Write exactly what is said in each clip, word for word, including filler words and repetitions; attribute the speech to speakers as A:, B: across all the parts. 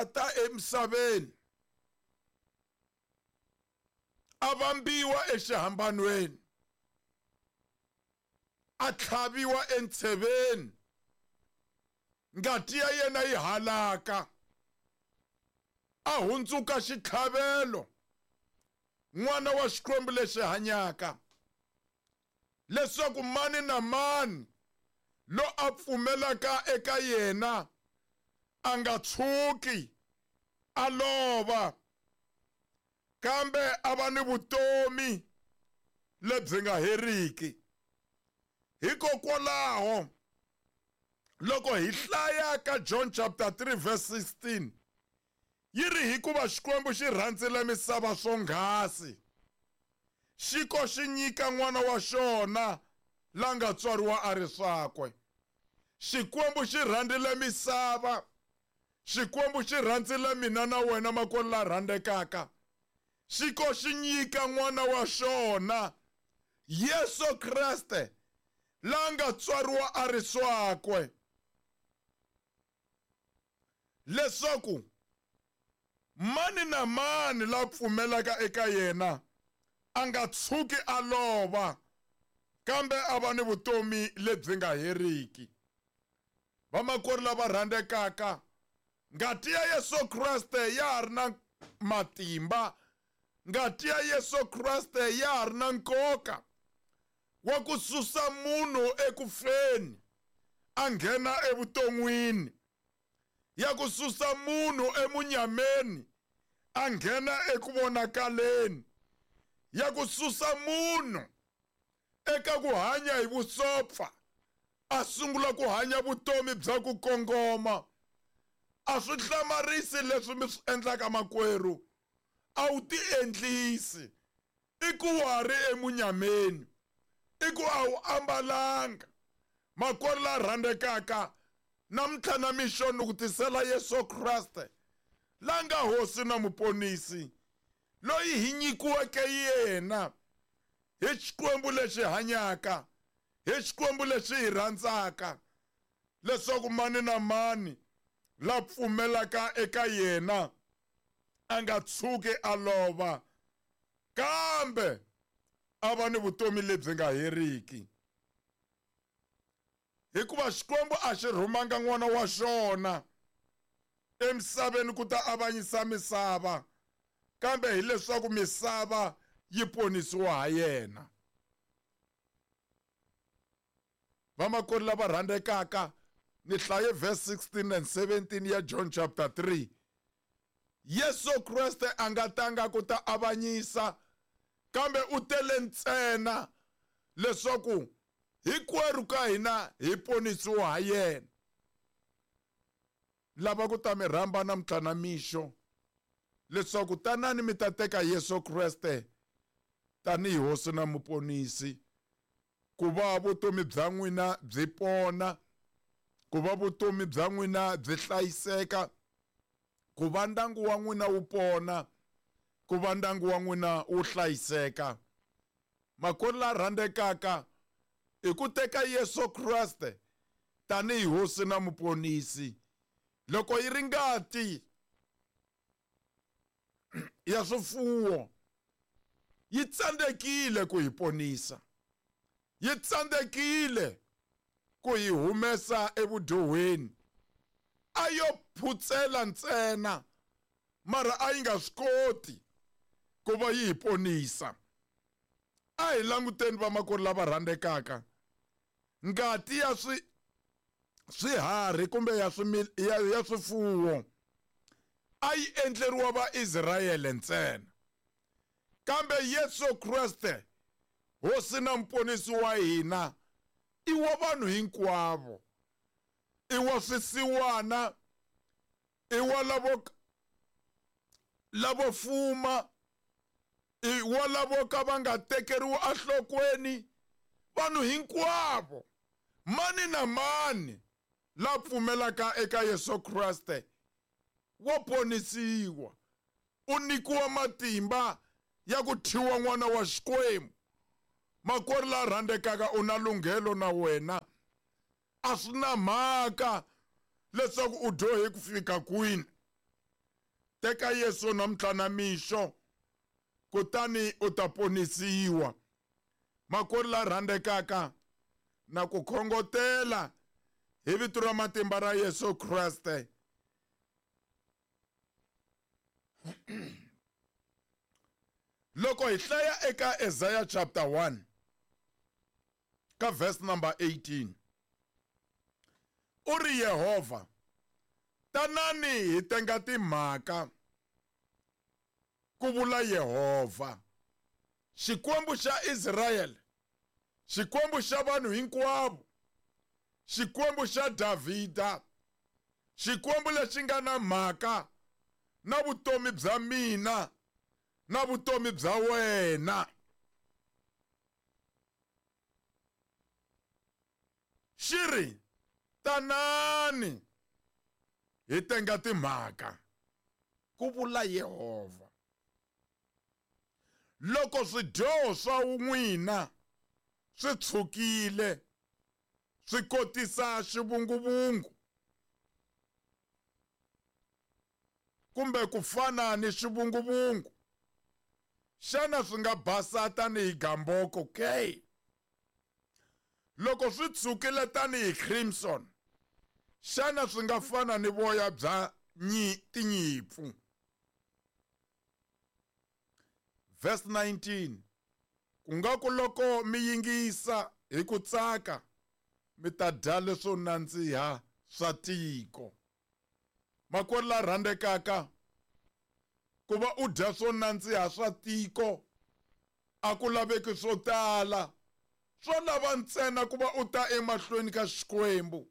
A: a ta emisaveni a vambiwa exihambanweni a tlhaviwa entsheveni ngati ya yena yi halaka a hundzuka xitlhavelo n'wana wa Xikwembu lexi hanyaka leswaku mani na mani lo a pfumelaka eka yena a nga tshuki a lova kambe a va ni vutomi lebyi nga heriki. Hikokwalaho loko hi hlaya ka John chapter three verse sixteen yi ri hikuva Xikwembu xi rhandzile misava swonghasi xi ko xi nyika n'wana wa xona la nga tswariwa a ri swakwe. Xikwembu xi rhandzile misava, Xikwembu xi rhandzile mina na wena makwerhu la rhandzekaka, xi ko xi nyika n'wana wa xona Yesu Kreste la nga tswariwa a ri swakwe leswaku mani na mani la pfumelaka eka yena a nga tshuki a lova kambe a va ni vutomi lebyi nga heriki. Vamakwerhu lava rhandzekaka, ngati ya Yesu Kreste ya ha ri na matimba, ngati ya Yesu Kreste ya ha ri na nkoka wa ku susa munhu ekufeni a nghena evuton'wini, ya ku susa munhu emunyameni a nghena eku vonakaleni, ya ku susa munhu eka ku hanya hi vusopfa a sungula ku hanya vutomi bya ku kongoma. A swi hlamarisi leswi mi swi endlaka makwerhu, a wu ti endlisi, i ku wa ri emunyameni, i ku a wu ambalanga. Makwerhu la rhandzekaka, namuntlha na mixo ni ku tisela Yesu Kreste la nga Hosi na Muponisi, loyi hi nyikiweke yena hi Xikwembu lexi hanyaka, hi Xikwembu lexi hi rhandzaka, leswaku mani na mani la pfumelaka eka yena a nga tshuki a lova kambe a va ni vutomi lebyi nga heriki. Hikuva Xikwembu a xi rhumanga n'wana wa xona emisaveni ku ta avanyisa misava, kambe hileswaku misava yi ponisiwa ha yena. Vamakwerhu lava rhandzekaka, ni hlaye verse sixteen and seventeen ya John chapter three. Yesu Kreste a nga tanga ku ta avanyisa, kambe u tele ntsena leswaku hinkwerhu ka hina hi ponisiwa ha yena. Lava ku ta mi rhamba namuntlha na mixo leswaku tanani mi ta teka Yesu Kreste tanihi Hosi na Muponisi, ku va vutomi bya n'wina byi pona, ku va vutomi bya n'wina byi hlayiseka, ku va ndyangu wa n'wina wu pona, ku va ndyangu wa n'wina wu hlayiseka. Makwerhu la rhandzekaka, i ku teka Yesu Kreste tanihi Hosi na Muponisi. Loko yi ri ngati ya swifuwo yi tsandzekile ku hi ponisa, yi tsandzekile ku hi humesa evudyohweni, a yo phutsela ntsena, mara a yi nga swi koti ku va yi hi ponisa. A hi languteni vamakwerhu lava rhandzekaka, ngati ya swi swiharhi kumbe ya swi ya, ya swifuwo a yi endleriwa Vaisrayele ntsena, kambe Yesu Kreste Hosi na Muponisi wa hina i wa vanhu hinkwavo, i wa swisiwana, i wa lavo lavo fuma, i wa lavo ka va nga tekeriwi enhlokweni, vanhu hinkwavo, mani na mani la pfumelaka eka Yesu Kreste wa ponisiwa, u nyikiwa matimba ya ku thyiwa n'wana wa Xikwembu. Makwerhu la rhandzekaka, u na lunghelo na wena, a swi na mhaka leswaku u dyohe ku fika kwini, Teka Yesu namuntlha na mixo, kutani u ta ponisiwa. Makwerhu la rhandzekaka, na ku khongotela hi vito ra matimba ra Yesu Kreste. Loko hi hlaya eka Isaiah chapter one ka verse number eighteen, u ri Yehovha, tanani hi tenga timhaka, ku vula Yehovha, Xikwembu xa Israyele, Xikwembu xa vanhu hinkwavo, Xikwembu xa Davhida, Xikwembu lexi nga na mhaka na vutomi bya mina na vutomi bya wena. Xi ri, tanani hi tenga timhaka, ku vula Yehovha. Loko swidyoho swa n'wina swi tshukile, swi kotisa xivunguvungu, kumbe ku fana ni xivunguvungu, xana swi nga basa tanihi gamboko ke? Loko swi tshukile tanihi crimson, xana swi nga fana ni voya bya tinyimpfu? Verse nineteen, ku nga ku loko mi yingisa hi ku tsaka, mi ta dya leswo nandziha swa tiko. Makwerhu la rhandzekaka, ku va u dya swo nandziha swa tiko a ku laveki swo tala, swo lava ntsena ku va u ta emahlweni ka Xikwembu.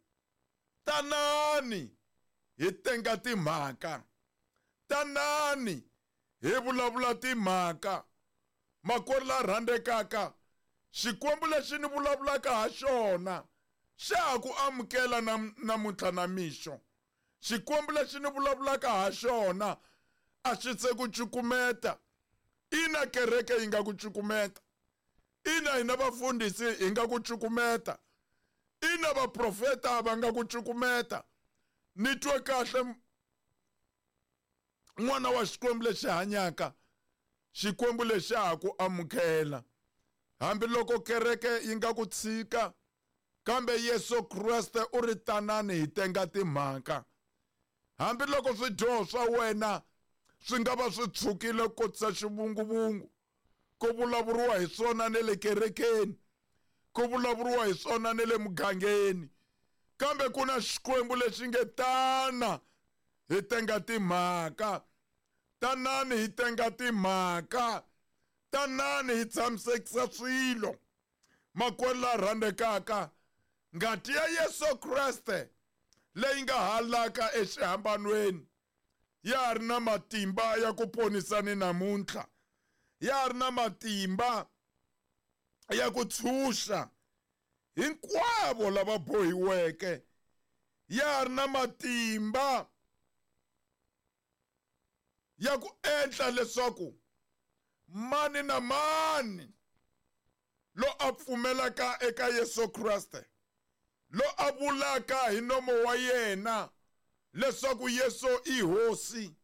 A: Tanani hi tenga timhaka, tanani hi vulavula timhaka. Makwerhu la rhandzekaka, Xikwembu lexi ni vulavulaka ha xona xa ha ku amukela namuntlha na mixo. Xikwembu lexi ni vulavulaka ha xona a xi se ku cukumeta. Ina kereke yi nga ku cukumeta, ina hina vafundhisi hi nga ku cukumeta, ina vaprofeta va nga ku cukumeta. Ni twe kahle n'wana wa Xikwembu lexi hanyaka, Xikwembu lexi ha ku amukela. Hambiloko kereke yi nga ku tshika, kambe Yesu Kreste u ri tanani hi tenga timhaka. Hambiloko swidyoho swa wena swi nga va swi tshukile kotisa xivunguvungu, ku vulavuriwa hi swona ne le kerekeni, ku vulavuriwa hi swona ne le mugangeni, kambe ku na Xikwembu lexi nge tana hi tenga timhaka, tanani hi tenga timhaka, tanani hi tshamisekisa swilo. Makwerhu la rhandzekaka, ngati ya Yesu Kreste leyi nga halaka exihambanweni ya ha ri na matimba ya ku ponisa ni namuntlha, ya ha ri na matimba ya ku tshunxa hinkwavo lava bohiweke, ya ha ri na matimba ya ku endla leswaku mani na mani lo a pfumelaka eka Yesu Kreste, lo a vulaka hi nomo wa yena leswaku Yesu i Hosi,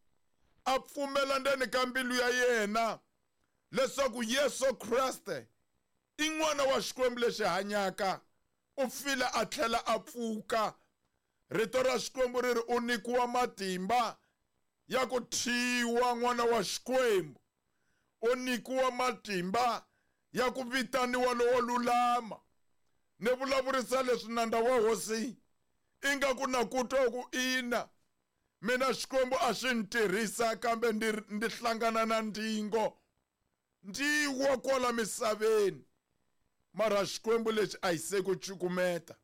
A: a pfumela ndzeni ka mbilu ya yena leswaku Yesu Kreste i n'wana wa Xikwembu lexi hanyaka, u file a tlhela a pfuka. Rito ra Xikwembu ri ri u nyikiwa matimba ya ku thyiwa n'wana wa Xikwembu, u nyikiwa matimba ya ku vitaniwa lowo lulama. Ni vulavurisa leswi nandza wa Hosi ingaku na ku twa ku ina mina Xikwembu a xi ni tirhisa, kambe ndi ndi hlangana na ndzingo, ndzi wa kwala misaveni. Mara Xikwembu lexi a xi se ku cukumeta,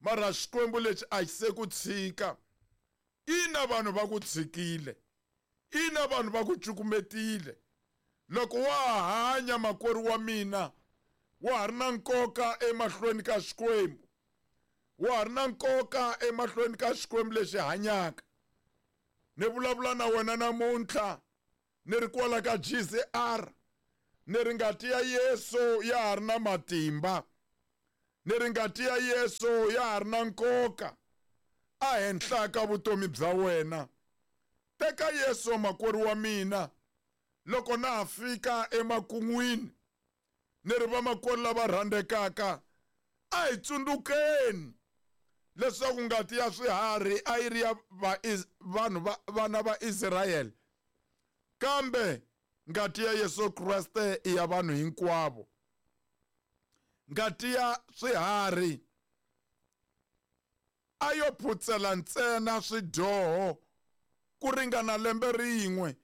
A: mara Xikwembu lexi a xi se ku tshika. Ina vanhu va ku tshikile, ina vanhu va ku cukumetile. Loko wa ha hanya makwerhu wa mina, wa ha ri na nkoka emahlweni ka Xikwembu, wa ha ri na nkoka emahlweni ka Xikwembu lexi hanyaka. Ni vulavula na wena namuntlha ni ri kwala ka G C R, ni ri ngati ya Yesu ya ha ri na matimba, ni ri ngati ya Yesu ya ha ri na nkoka a henhla ka vutomi bya wena. Teka Yesu makwerhu wa mina loko na ha fika emakun'wini, ni ri vamakwerhu lava rhandzekaka, a hi tsundzukeni leswaku ngati ya swiharhi a yi ri ya vanhu va vana va Israyele, kambe ngati ya Yesu Kreste i ya vanhu hinkwavo. Ngati ya swiharhi a yo phutsela ntsena swidyoho ku ringana lembe rin'we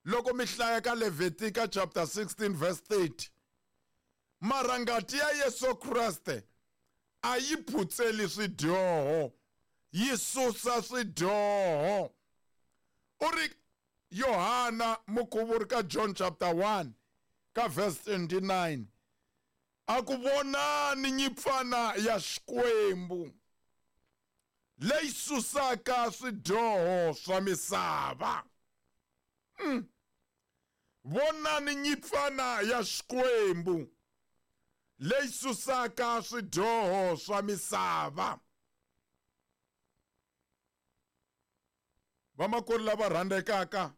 A: loko mi hlaya ka Levitika chapter sixteen verse thirty. Mara ngati ya Yesu Kreste a yi phutseli swidyoho, yi susa swidyoho. U ri Yohana mukhuvuri ka John chapter one ka verse twenty-nine, a ku vonani nyipfana ya Xikwembu leyi susaka swidyoho swa misava. Mm. Vonani nyipfana ya Xikwembu leyi susaka swidyoho swa misava. Vamakwerhu lava rhandzekaka,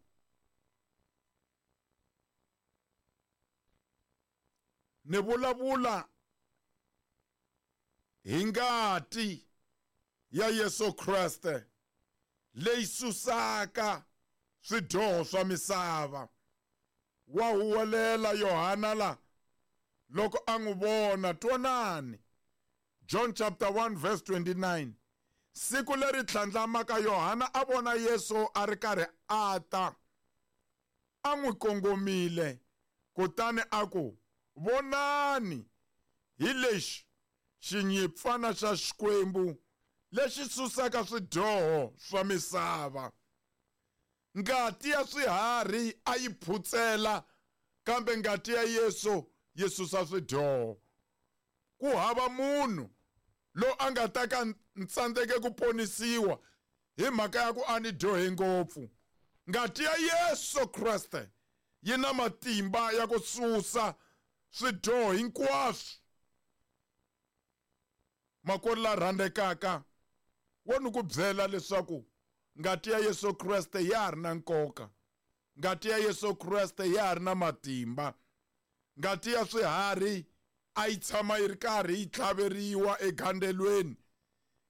A: ni vulavula hi ngati ya Yesu Kreste leyi susaka swidyoho swa misava. Wa huwelela Yohana la loko a n'wi vona, twanani. John chapter one verse twenty-nine. Siku leri tlhandlamaka Yohana a vona Yesu a ri karhi a ta, a n'wi kongomile, kutani a ku, vonani, hi lexi xinyipfana xa Xikwembu lexi susaka swidyoho swa misava. Ngati ya swiharhi a yi phutsela, kambe ngati ya Yesu yi susa swidyoho. Ku hava munhu lo a nga ta ka ntsandzeke ku ponisiwa hi mhaka ya ku a ni dyohe ngopfu. Ngati ya Yesu Kreste yi na matimba ya ku susa swidyoho hinkwaswo. Makwerhu la rhandzekaka, wo ni ku byela leswaku ngati ya Yesu Kreste ya ha ri na nkoka. Ngati ya Yesu Kreste ya ha ri na matimba. Ngati ya swiharhi a yi tshama yi ri karhi yi tlhaveriwa egandzelweni,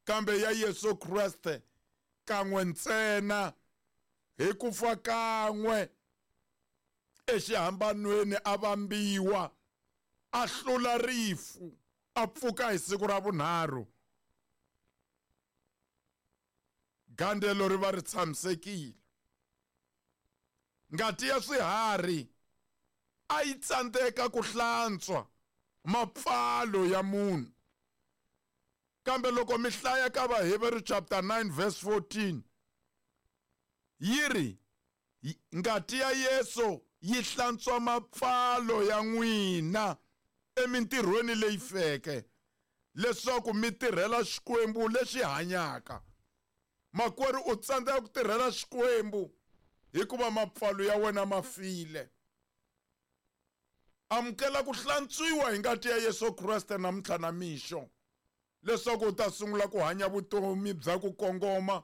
A: kambe ya Yesu Kreste kan'we ntsena, hi ku fa kan'we exihambanweni a vambiwa, a hlula rifu, a pfuka hi siku ra vunharhu. Gandzelo ri va ri tshamisekile. Ngati ya swiharhi a yi tsandzeka ku hlantswa mapfalo ya munhu, kambe loko mi hlaya ka Vaheveru chapter nine verse fourteen, yi ri ngati ya Yesu yi hlantswa mapfalo ya n'wina emintirhweni leyi feke, leswaku mi tirhela Xikwembu lexi hanyaka. Makwerhu, u tsandzeka ku tirhela Xikwembu hikuva mapfalo ya wena ma file. Amukela ku hlantswiwa hi ngati ya Yesu Kreste namuntlha na mixo, leswaku u ta sungula ku hanya vutomi bya ku kongoma,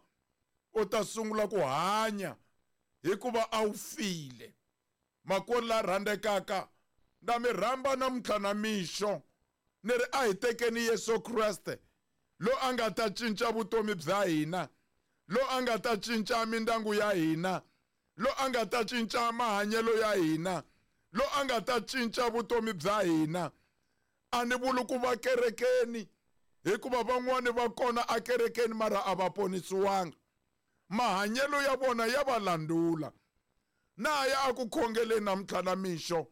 A: u ta sungula ku hanya hikuva a wu file. Makwerhu la rhandzekaka, na mi rhamba namuntlha na mixo, ni ri a hi tekeni Yesu Kreste lo a nga ta cinca vutomi bya hina, lo a nga ta cinca mindyangu ya hina, lo a nga ta cinca mahanyelo ya hina, lo a nga ta cinca vutomi bya hina. A ni vuli ku va kerekeni, hikuva van'wani va kona akerekeni mara a va ponisiwanga. Mahanyelo ya vona ya va landula. Na ya a ku khongeleni namuntlha na mixo,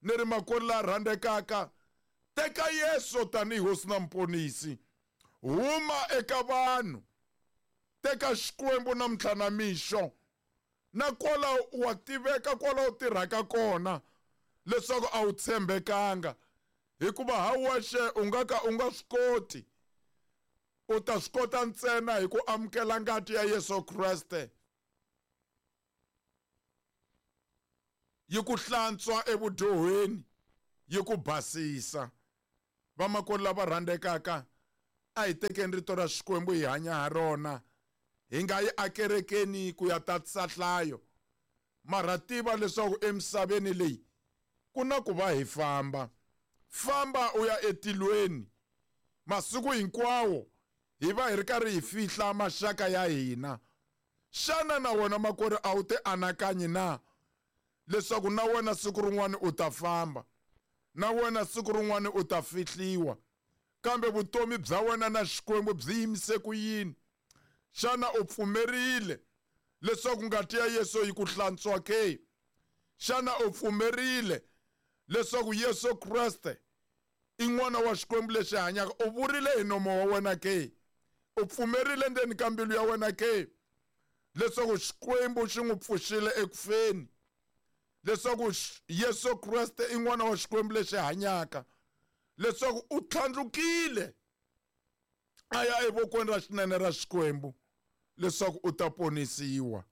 A: ni ri makwerhu la rhandzekaka, teka Yesu tanihi hosi na muponisi. Huma eka vanhu, teka Xikwembu namuntlha na mixo. Na kwala wa tiveka kwala u tirhaka kona leswaku a wu tshembekanga, hikuva ha wexe u nga ka u nga swi koti. U ta swi kota ntsena hi ku amukela ngati ya Yesu Kreste yi ku hlantswa evudyohweni, yi ku basisa. Vamakwerhu lava rhandzekaka, a hi tekeni rito ra Xikwembu hi hanya ha rona, Hi nga yi akerekeni ku ya tatisa nhlayo, mara tiva leswaku emisaveni leyi ku na ku va hi famba. Famba u ya etilweni. Masiku hinkwawo hi va hi ri karhi hi fihla maxaka ya hina. Xana na wena makwerhu a wu ti anakanyi na leswaku na wena siku rin'wana u ta famba, na wena siku rin'wana u ta fihliwa, kambe vutomi bya wena na Xikwembu byi yimise ku yini? Xana u pfumerile leswaku ngati ya Yesu yi ku hlantswa ke? Xana u pfumerile leswaku Yesu Kreste i n'wana wa Xikwembu lexi hanyaka? U vurile hi nomo wa wena ke? U pfumerile ndzeni ka mbilu ya wena ke leswaku Xikwembu xi n'wi pfuxile ekufeni, leswaku Yesu Kreste i n'wana wa Xikwembu lexi hanyaka, leswaku u tlhandlukile a ya evokweni ra xinene ra Xikwembu leswaku u ta ponisiwa,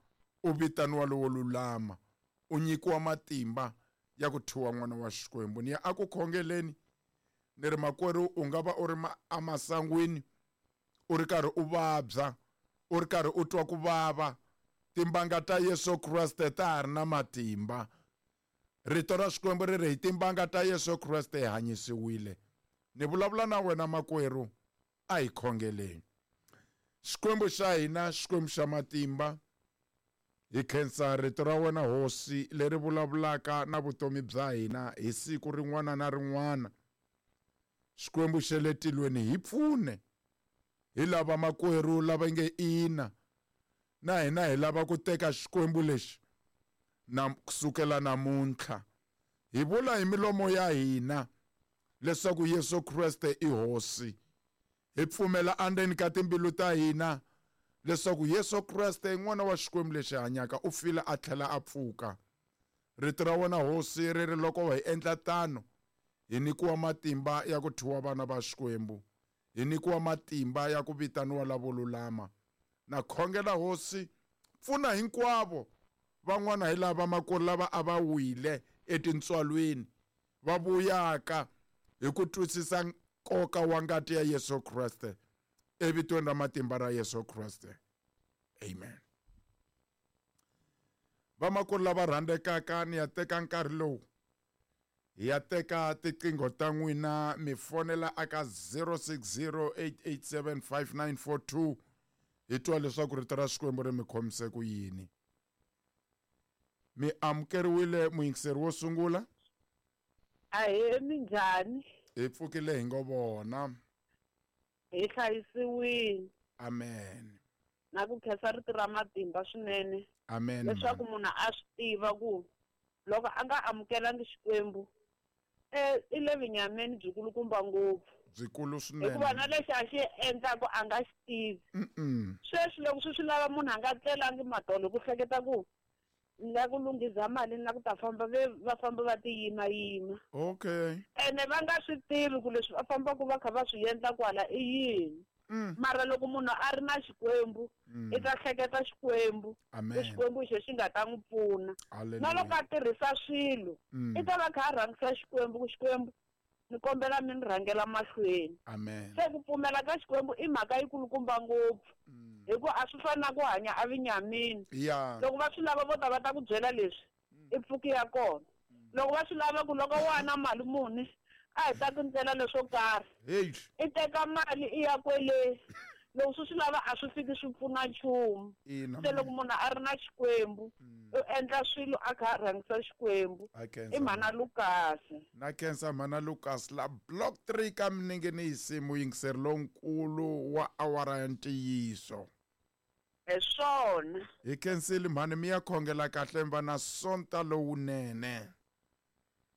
A: u vitaniwa lowo lulama, u nyikiwa matimba ya ku thyiwa n'wana wa Xikwembu. Ni ya a ku khongeleni, ni ri makwerhu u nga va u ri emasangwini, u ri karhi u vabya, u ri karhi u twa ku vava, timbanga ta Yesu Kreste ta ha ri na matimba. Rito ra Xikwembu ri ri hi timbanga ta Yesu Kreste hi hanyisiwile. Ni vulavula na wena makwerhu, a hi khongeleni. Xikwembu xa hina, Xikwembu xa matimba, hi khensa rito ra wena Hosi leri vulavulaka na vutomi bya hina hi siku rin'wana na rin'wana. Xikwembu xa le tilweni, hi pfune. Hi lava makwerhu lava nge ina, na hina hi lava ku teka Xikwembu lexi na kusukela namuntlha. Hi vula hi milomo ya hina leswaku Yesu Kreste i Hosi. Hi pfumela endzeni ka timbilu ta hina leswaku Yesu Kreste i n'wana wa Xikwembu lexi hanyaka, u file a tlhela a pfuka. Rito ra wena Hosi ri ri loko hi endla tano hi nyikiwa matimba ya ku thyiwa vana va Xikwembu, hi nyikiwa matimba ya ku vitaniwa lavo lulama. Na khongela Hosi, pfuna hinkwavo van'wana hi lava makwerhu lava a va wile etintswalweni, va vuyaka hi ku twisisa nkoka wa ngati ya Yesu Kreste, evitweni ra matimba ra Yesu Kreste, amen. Vamakwerhu lava rhandzekaka, ni ya teka nkarhi lowu hi ya teka tiqingho ta n'wina, mi fonela aka zero six zero eight eight seven five nine four two, hi twa leswaku rito ra Xikwembu ri mi khomise ku yini. Mi amukeriwile muyingiseri wo sungula.
B: Ahee, minjhani?
A: Hi pfukile hi ngo vona.
B: Hi hlayisiwile.
A: Amen.
B: Na ku khensa rito ra matimba swinene.
A: Amen.
B: Leswaku munhu a swi tiva ku loko a nga amukelangi Xikwembu, eh i le vinyameni byikulukumba ngopfu.
A: Byikulu swinene.
B: Hikuva na lexi a xi endlaku a nga xi tivi. Sweswi loko swi swi lava munhu a nga tlelangi madolo ku hleketa ku ni la ku lunghiza mali ni la ku ta famba ve va famba va ti yimayima.
A: Okay.
B: Ene va nga swi tivi ku leswi va fambaka va kha va swi endla kwala i yini. Mara loko munhu a ri na Xikwembu, i ta hleketa Xikwembu, ku Xikwembu xo xi nga ta n'wi pfuna. Na loko a tirhisa swilo, i ta va kha a rhangisa Xikwembu, ku Xikwembu ni kombela mi ni rhangela mahlweni.
A: Amen.
B: Se ku pfumela ka Xikwembu i mhaka yikulukumba ngopfu. Hikuva a swi fani na ku hanya evinyamini. Loko va swi lava vo ta va ta ku byela leswi, i pfuki ya kona. Loko va swi lava ku loko wa na mali muni, a hi ta ku ndlela leswo karhi. I teka mali i ya kwele. Loko swi swi lava a swi fiki swi pfuna nchumu. Se loko munhu a ri na Xikwembu, u endla swilo a kha a rhangisa Xikwembu. I mhana Lucas.
A: Na khensa mhana Lucas la block three ka Minengenisi, muyingiseri lonkulu wa awara ya ntiyiso.
B: Hi swona.
A: Hi khensile mhani, mi ya khongela kahle mi va na sonta lowunene.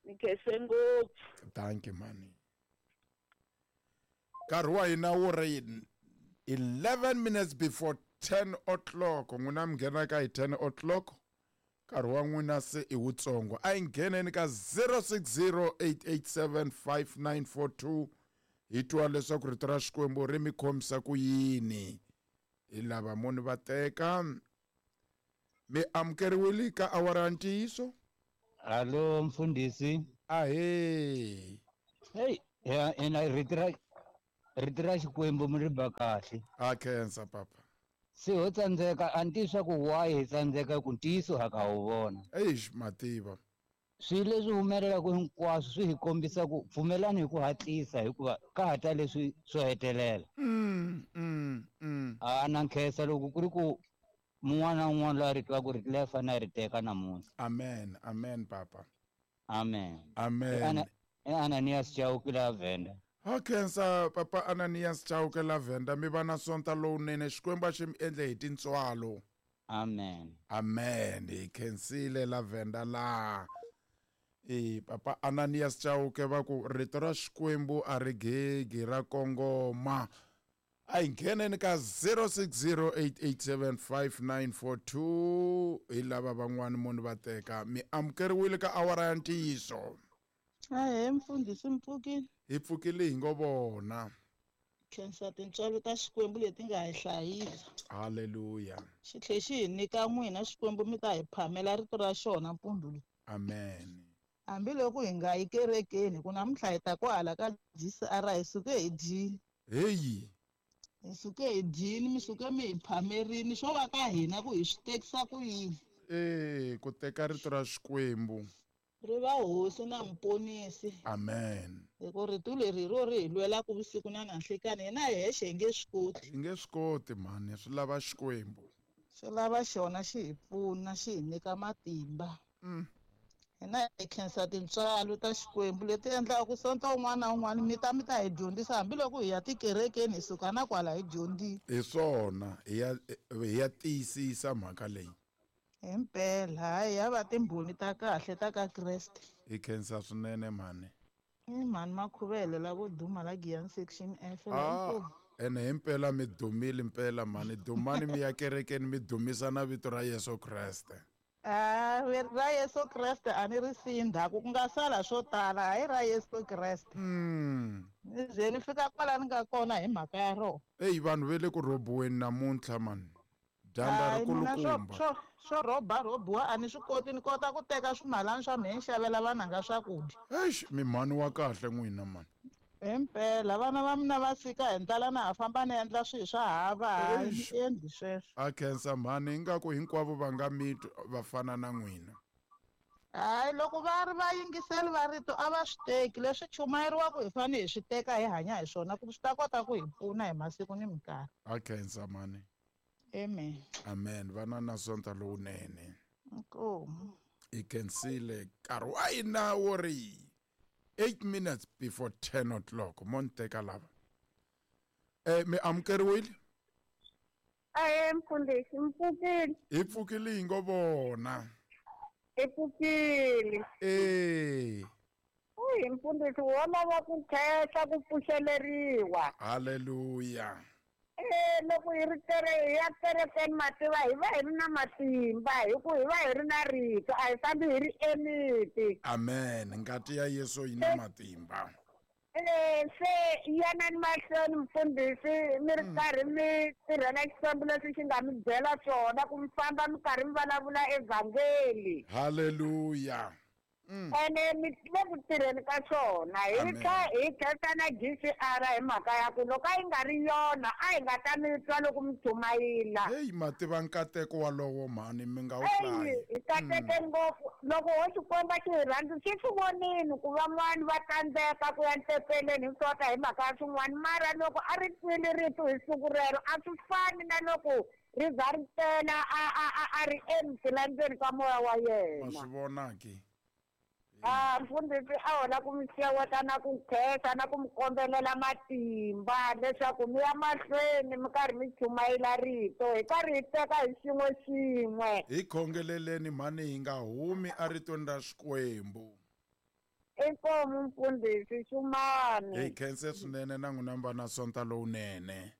B: Ni khense ngopfu.
A: Thank you mhani. Nkarhi wa hina wu ri eleven minutes before ten o'clock. N'wina mi nghena ka hi ten o'clock. Nkarhi wa n'wina se i wutsongo. A hi ngheneni ka zero six zero eight eight seven five nine four two, hi twa leswaku rito ra Xikwembu ri mi khomisa ku yini. Hi lava muni va teka. Mi amukeriwile ka awara ya ntiyiso?
C: Alo mfundhisi.
A: Ahee.
C: Hey, ya ina rito ra rito ra Xikwembu mi ri ba kahle.
A: A khensa papa.
C: Se ho tsandzeka a ni tivi swa ku why hi tsandzeka ku ntiyiso ha ka wu vona.
A: Eish mativa.
C: Swilo leswi humelelaka hinkwaswo swi hi kombisa ku pfumelani hi ku hatlisa hikuva ka ha ta leswi swo hetelela.
A: Mm, mm, mm.
C: A na nkhensa loko ku ri ku mun'wana na un'wana loyi a ri twaka rito leri fanele a ri teka namuntlha.
A: Amen, amen papa.
C: Amen.
A: Amen.
C: I Ananias Chauke la Venda.
A: Ha khensa papa Ananias Chauke la Venda, mi va na sonta lowunene, Xikwembu a xi mi endle hi tintswalo.
C: Amen.
A: Amen. Hi khensile la Venda la. E papa Ananias Chauke va ku rito ra Xikwembu a ri gegi ra kongoma. A hi ngheneni ka zero six zero eight eight seven five nine four two hi lava van'wani munhu va teka mi amukeriwile ka awara ya ntiyiso.
D: Ahee mfundhisi, mi pfukile?
A: Hi pfukile hi ngo vona.
D: Khensa tintswalo ta Xikwembu leti nga hi hlayisa.
A: Haleluya.
D: Xi tlhe xi hi nyika n'wina Xikwembu mi ta hi phamela rito ra xona mpundzu lowu.
A: Amen.
D: Hambiloko hi nga yi kerekeni ku namuntlha hi ta kwahala ka G C R hi suke hi dyile.
A: Heyi.
D: Hi suke hi dyile, mi suke mi hi phamerini, swo va ka hina ku hi swi tekisa ku yini.
A: Eh, ku teka rito ra Xikwembu.
D: Ri va hosi na muponisi.
A: Amen.
D: Hi ku rito leri hi ro ri hi lwelaka vusiku na nanhlikani, hina hi hexe hi nge swi koti.
A: Hi nge swi koti mhani, swi lava Xikwembu.
D: Swi lava xona xi hi pfuna, xi hi nyika matimba.
A: Mm.
D: Hina hi khensa tintswalo ta Xikwembu leti endlaka ku sonto un'wana na un'wana mi ta mi ta hi dyondzisa hambiloko hi ya tikerekeni hi suka na kwala hi dyondzile.
A: Hi swona, hi ya hi ya tiyisisa mhaka leyi.
D: Himpela, hayi ya va timbhoni ta kahle ta ka Kreste.
A: Hi khensa swinene mhani.
D: I mhani Makhuvele la vo duma la Giyani section F.
A: Ah, ene himpela mi dumile mpela mhani, dumani mi ya kerekeni mi dumisa na vito ra Yesu Kreste.
D: Ah, ra Yesu Kreste a ni ri siyi ndzhaku ku nga sala swo tala, hayi ra Yesu Kreste.
A: Mm.
D: Ni ze ni fika kwala ni nga kona hi mhaka ya rona.
A: Eyi vanhu va le ku rhobiweni namuntlha mani. Dyandza ri kulukumba.
D: Swo swo rhoba rhobiwa a ni swi koti, ni kota ku teka swimalana swa mina ni xavela vananga swakudya.
A: Eish, mi mhani wa kahle n'wina mani.
D: Himpela vana va mina va fika hi ndlala na ha famba ni endla swilo swa hava, hayi ni endli sweswo.
A: A khensa mhani, ingaku hinkwavo va nga mi va fana na n'wina.
D: Hayi loko va ri va yingiseli va rito a va swi teki, leswi chumayeriwaka hi fanele hi swi teka hi hanya hi swona ku swi ta kota ku hi pfuna hi masiku ni minkarhi.
A: A khensa mhani.
D: Amen.
A: Amen. Vana na sonta lowunene.
D: Inkomu.
A: Hi khensile nkarhi wa hina wo ri eight minutes before ten o'clock. Mo ni teka lava. Eh, mi amukeriwile?
B: Ahee mfundhisi, mi pfukile?
A: Hi pfukile hi ngo vona.
B: Hi pfukile.
A: Eh.
B: Uyi mfundhisi, wo lava ku khensa ku pfuxeleriwa.
A: Haleluya.
B: Eh, loko hi ri kere hi ya kerekeni mativa hi va hi ri na matimba hi ku hi va hi ri na rito, a hi fambi hi ri emiti.
A: Amen. Ngati ya Yesu yi na matimba.
B: Eh, se yanani mahlweni mfundhisi mi ri karhi mi tirhela Xikwembu leswi xi nga mi byela swona ku mi famba mi karhi mi vulavula evhangeli.
A: Haleluya.
B: Ene mi le ku tirheni ka swona. Hi tlha hi khensa na G C R hi mhaka ya ku loko a yi nga ri yona a hi nga ta mi twa loko mi chumayela.
A: Heyi mativa nkateko walowo mhani, mi nga wu hlayi.
B: Hi kateke ngopfu loko ho Xikwembu xi hi rhandza xi swi vonile ku van'wani va tsandzeka ku ya ntepeleni hi swota hi mhaka ya swin'wana, mara loko a ri twile rito hi siku rero a swi fani na loko ri za ri tela a a a a ri empty la ndzeni ka moya wa yena.
A: Ma swi vona ke?
B: Ah, mfundhisi a hola ku mi xeweta na ku khensa na ku mi kombelela matimba leswaku mi ya mahlweni mi karhi mi chumayela rito hi karhi hi teka hi xin'we xin'we.
A: Hi khongeleleni mhani, hi nga humi eritweni ra Xikwembu.
B: Inkomu mfundhisi, xumani.
A: Hi khense swinene na n'wina mi va na sonta lowunene.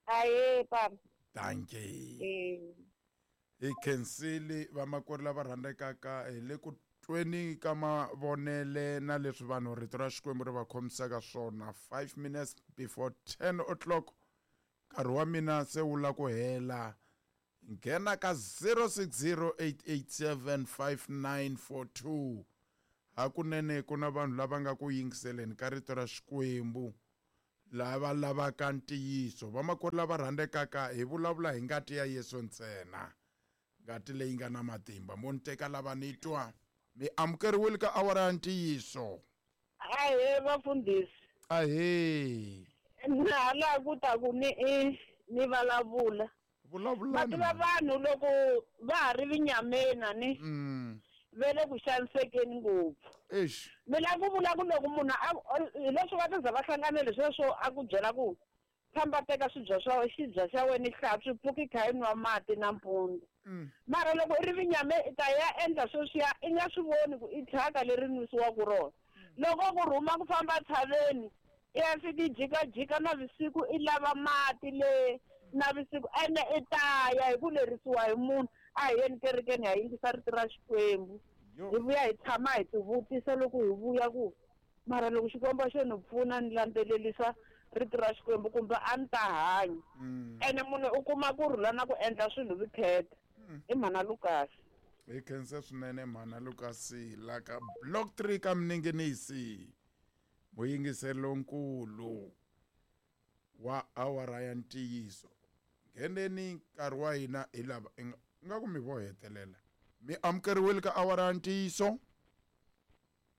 B: Ahee papa.
A: Dankie. Hi khensile vamakwerhu lava rhandzekaka hi le ku tweni ka mavonele na leswi vanhu rito ra Xikwembu ri va khomisaka swona. Five minutes before ten o'clock, nkarhi wa mina se wu la ku hela. Nghena ka zero six zero eight eight seven five nine four two. Hakunene ku na vanhu lava nga ku yingiseleni ka rito ra Xikwembu Lava lavaka ntiyiso, vamakwerhu lava rhandzekaka, hi vulavula hi ngati ya Yesu ntsena, ngati leyi nga na matimba. Mo ni teka lava ni twa. Mi amukeriwile ka awara ya ntiyiso.
B: Ahee vafundhisi.
A: Ahee.
B: Na hala ku ta ku ni i ni vulavula.
A: Vulavulani.
B: Mativa vanhu loko va ha ri vinyameni ni.
A: Mm.
B: Ve le ku xanisekeni ngopfu.
A: Eish.
B: Mina ku vula ku loko munhu a hi leswi va tiza va hlanganele sweswo a ku byela ku famba teka swibya swa xibya xa wena i hlantswa pfuki kha i nwa mati nampundzu. Mara loko i ri vinyame i ta ya endla sweswiya i nga swi voni ku i thyaka leri nwisiwaka rona. Loko ku rhuma ku famba tshaveni i ya fika i jikajika navusiku i lava mati le navusiku ene i ta ya hi ku lerisiwa hi munhu a hi yeni kerekeni ha yingisa rito ra Xikwembu. Hi vuya hi tshama hi tivutisa loko hi vuya ku mara loko Xikwembu xo ni pfuna ni landzelerisa rito ra Xikwembu kumbe a ni ta hanya. Ene munhu u kuma ku rhula na ku endla swilo vukheta. I mhana Lucas.
A: Hi khensa swinene mhana Lucas la ka block three ka Mninginisi. Muyingiseri lonkulu wa awara ya ntiyiso. Ngheneni nkarhi wa hina hi lava nga ku mi vo hetelela. Mi amukeriwile ka awara ya ntiyiso.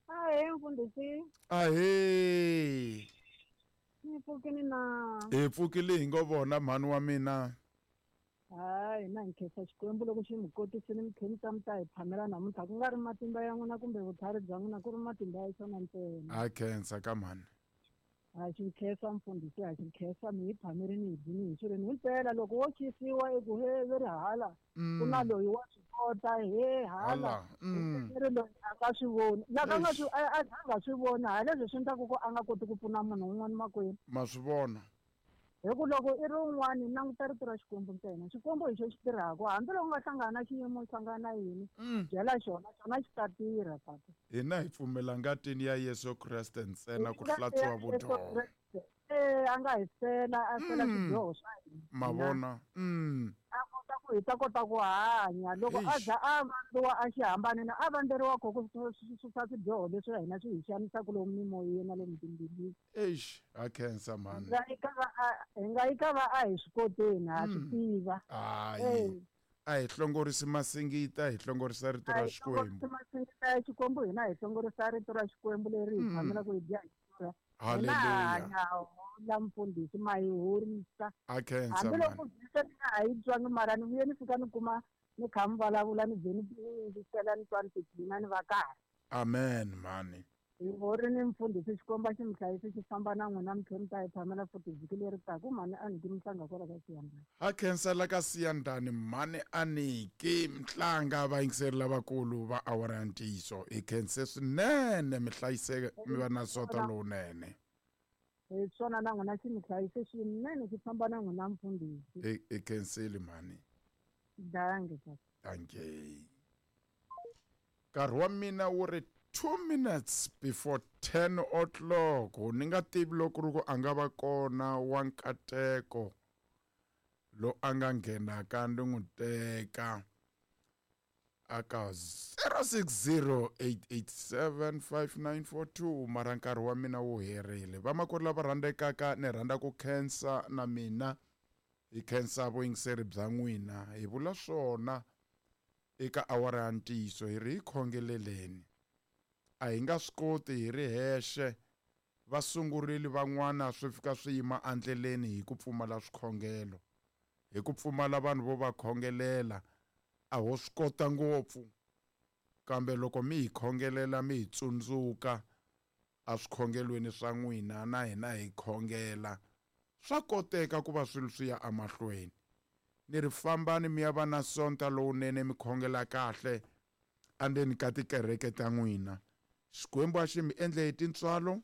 E: Ahee mfundhisi.
A: Ahee.
E: Ni pfukile na.
A: Hi pfukile hi ngo vona mhani wa mina.
E: Hayi na nkhensa Xikwembu loko xi mi kotisile mi khensa mi ta hi phamela namuntlha ku nga ri matimba ya n'wina kumbe vutlhari bya n'wina ku ri matimba ya xona ntsena.
A: A khensa ka mhani.
E: Ha xi khensa mfundhisi, ha xi khensa mi hi phamerini hi dyini hi swirweni himpela loko wo xisiwa eku he ve ri hala ku na loyi wa swi kota he hala ri loyi a nga swi voni laka nga swi a nga swi voni ha leswi swi endlaku ku a nga koti ku pfuna munhu un'wana makwenu.
A: Ma swi vona.
E: Hi ku loko i ri un'wani languta rito ra Xikwembu ntsena. Xikwembu hi xo xi tirhaka hambiloko u nga hlangana na xiyimo u hlangana na yini byela xona xona xi ta tirha papa.
A: Hina hi pfumela ngatini ya Yesu Kreste ntsena ku hlantswa vudyoho.
E: Eh a nga hi fela a fela swidyoho swa hina.
A: Mavona.
E: A kota ku hi ta kota ku hanya loko a za a vandziwa a xihambanini a vandzeriwa kho ku susa swidyoho leswi hina swi hi xanisaka lomu mimoyeni na lomu timbilwini.
A: Eish, a khensa mhani.
E: Hi nga yi ka va a hi swi koteni ha swi tiva.
A: Hayi. A hi hlongorisi masingita, hi hlongorisa rito ra Xikwembu.
E: Masingita ya Xikwembu hina hi hlongorisa rito ra Xikwembu leri hi tshamelaka hi dya hi xurha.
A: Haleluya.
E: La mfundhisi ma hi horisa.
A: A khensa
E: hambiloko vhisi ni nga ha yi twangi mara ni vuye ni fika ni kuma ni kha mi vulavula ni vhe ni yingisela ni twa ni tiphina ni va kahle.
A: Amen mhani.
E: Hi horini mfundhisi Xikwembu a xi mi hlayisi xi famba na n'wina mi tlhela mi ta hi phamela futhi vhiki leri taka mhani Aniki Mhlanga kwala ka Siyandhani.
A: Ha khensa la ka Siyandhani mhani Aniki Mhlanga vayingiseri lavakulu va awara ya ntiyiso. Hi khense swinene mi hlayiseke mi va na sota lowunene.
E: Hi swona na n'wina xi mi hlayise swinene xi famba na n'wina mfundhisi.
A: Hi khensile mhani.
E: Dankie papa.
A: Dankie. Nkarhi wa mina wu ri two minutes before ten o'clock. Ni nga tivi loko ri ku a nga va kona wa nkateko lo a nga nghenaka ni n'wi teka aka zero six zero eight eight seven five nine four two mara nkarhi wa mina wu herile. Vamakwerhu lava rhandzekaka ni rhandza ku khensa na mina hi khensa vuyingiseri bya n'wina. Hi vula swona eka awara ya ntiyiso hi ri hi khongeleleni. A hi nga swi koti hi ri hexe va sungurile van'wana swi fika swi yima endleleni hi ku pfumala swikhongelo, hi ku pfumala vanhu vo va khongelela. A ho swi kota ngopfu kambe loko mi hi khongelela mi hi tsundzuka a swikhongelweni swa n'wina na hina hi khongela swa koteka ku va swilo swi ya emahlweni. Ni ri fambani mi ya va na sonta lowunene mi khongela kahle andzeni ka tikereke ta n'wina. Xikwembu a xi mi endle hi tintswalo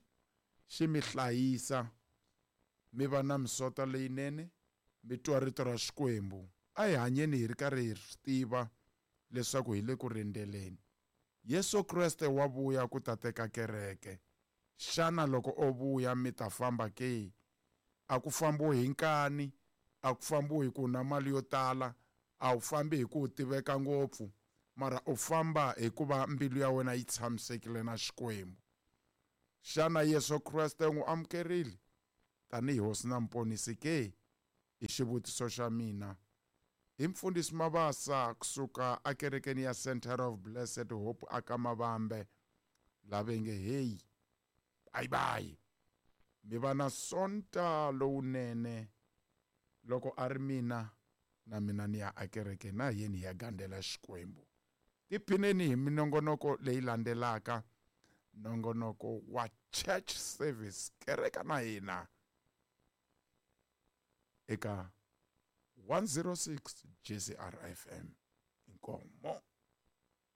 A: xi mi hlayisa mi va na misota leyinene mi twa rito ra Xikwembu. A hi hanyeni hi ri karhi hi swi tiva leswaku hi le ku rindzeleni. Yesu Kreste wa vuya ku ta teka kereke. Xana loko o vuya mi ta famba ke? A ku fambiwi hi nkani, a ku fambiwi hi ku na mali yo tala, a wu fambi hi ku tiveka ngopfu, mara u famba hikuva mbilu ya wena yi tshamisekile na Xikwembu. Xana Yesu Kreste u n'wi amukerile? tanihi hosi na mponisi ke? I xivutiso xa mina. I mfundhisi Mabasa kusuka akerekeni ya Center of Blessed Hope aka Mavambe lavenge hey bye bye mi va na sonta lowunene loko a ri mina na mina ni ya akereke na yeni ya gandzela Xikwembu. Tiphineni hi minongonoko leyi landzelaka, nongonoko wa church service kereka na hina eka one oh six J C R F M. Inkomo.